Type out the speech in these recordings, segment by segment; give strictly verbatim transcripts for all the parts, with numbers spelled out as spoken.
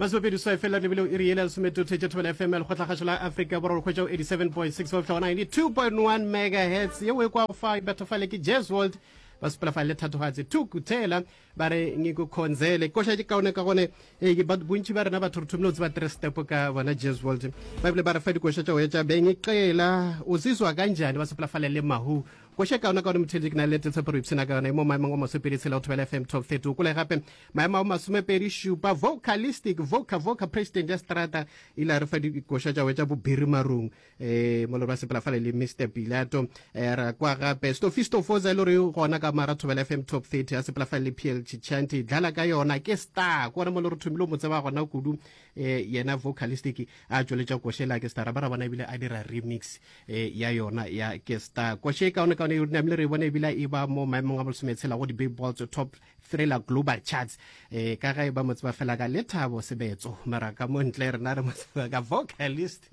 Masomepedi seswai fela lebile iri yela lesometee tša Thobela F M ya Lekgotlakgašo la Afrika Borwa re hwetša go eighty-seven point six go fihla go ninety-two point one megahertz. Yeo e kwago fa e batho fale ke Jazz World ba sepela fa le thatogatse Thukuthela ba re ngikukhonzele koša ke kaone ka gone eh, ke ba- bontši ba rena batho re thomile go tseba three step ka bona Jazz World ba bile ba re fa dikoša tša go etša bengiqela uzizwa kanjani ba sepela fale le mahu koša kaone kaone motheletši ke na le tshepo re ipshina ka yona e mo maemong a masomepedi tshela go Thobela F M Top thirty o kole gape maemo a masomepedi šupa vocalistic voca voca president ya strata ile a re fa dikoša tša go etša bobiri marung eh mo le ba sepela fale le Mister Pilato eh ra kwa gape Stofisto Foza e le gore gona ka mara Thobela F M Top thirty a sepela fale le P L Chichanti dlala ka yona ke star ke gona mo le re thomile mo tseba gona kudu eh yena vocalistic a tšweletša košela ke star ba ra bona ebile a dira remix eh ya yona ya ke star koše kaone kaone e namile re bone ebile e ba mo maemong a bolesometshela go di-billboards top thriller global charts eh ka ga e ba mo tseba fela ka Lethabo Sebetso mara ka mo ntle rena re mo tseba ka vocalist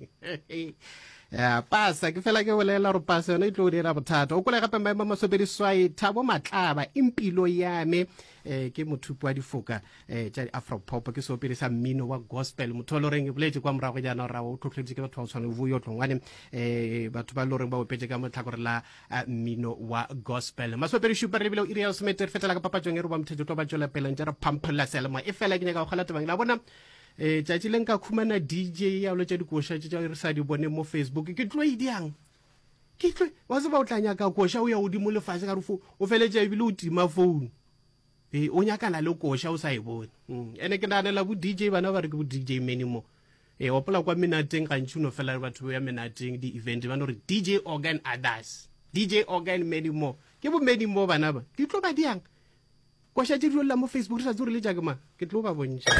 ya pasa ke fela ke bolela gore pasa yona e tlo dira bothata o kole gape maemo a masomepedi seswai Thabo Matlaba impilo ya me eh ke mothupi wa difoka eh tša afro pop ke seopedi sa mmino wa gospel motho wa loreng e boletše kwa morago jaana gore o tlhotlheleditše ke batho ba go tshwana le Vuyo Tlongwane eh batho ba loreng ba opetše ka motlhakore la eh, mmino wa gospel masomepedi šupa re lebile iri ya lesomete re fetela ka papatšong e re ba mothetše tlo ba tšwela pele ntše re phampholla seyalemoya e fela ke nyaka go kgola tabang la bona eh tšatši le nka khumana D J ya lotša dikoša tše tša re sa di bone mo Facebook ke tlo e diang ke tlo wa tseba o tla nyaka koša o ya godimo lefase ka re fo o feletša ebile o tima phone e o nyakana le koša o sa e bone mm. Ene ke naganela bo D J bana ba re ke bo D J many mo e opola kwa menateng gantši o no fela batho ba ya menateng di-event ba no re D J organ others D J organ many more ke bo many more bana ba di tlo ba diang koša tše di lla mo Facebook re sa tsebe gore le tša ke mang ke tlo ba bontšha.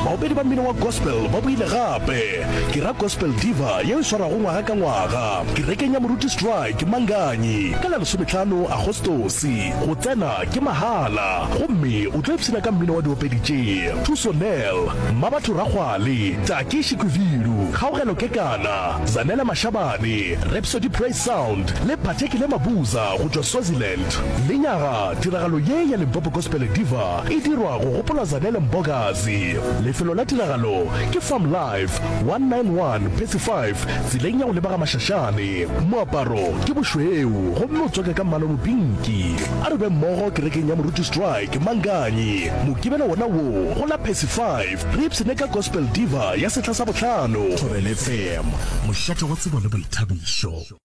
Baopedi ba mmino wa gospel ba boile gape. Ke ra Gospel Diva yeo e swarwago ngwaga ka ngwaga kerekeng ya Moruti Strike Manganyi ka la lesomehlano Agostose. Go tsena ke mahala gomme o tlo ipshina ka mmino wa diopedi tše Thuso Nel, Mmabatho Rakgwale, Taki Shikwivilu, Kgaogelo Kekana, Zanele Mashabane, Rhapsody Praise Sound le Phathekile Mabuza go tšwa Swaziland. Lenyaga tiragalo ye ya Limpopo Gospel Diva e dirwa go gopola Zanele Mbokazi. Lefelo la tiragalo ke Farm Life one nine one Percy five tseleng ya go leba ga Mashashane. Moaparo ke bošweu gomme o tswake ka mmala o mopinki. A re be mmogo kerekeng ya Moruti Strike Manganyi Mokibelo wona wo go la Percy five re ipshine ka Gospel Diva ya sehla sa bohlano. Thobela F M, mošate wa tsebo le boithabišo.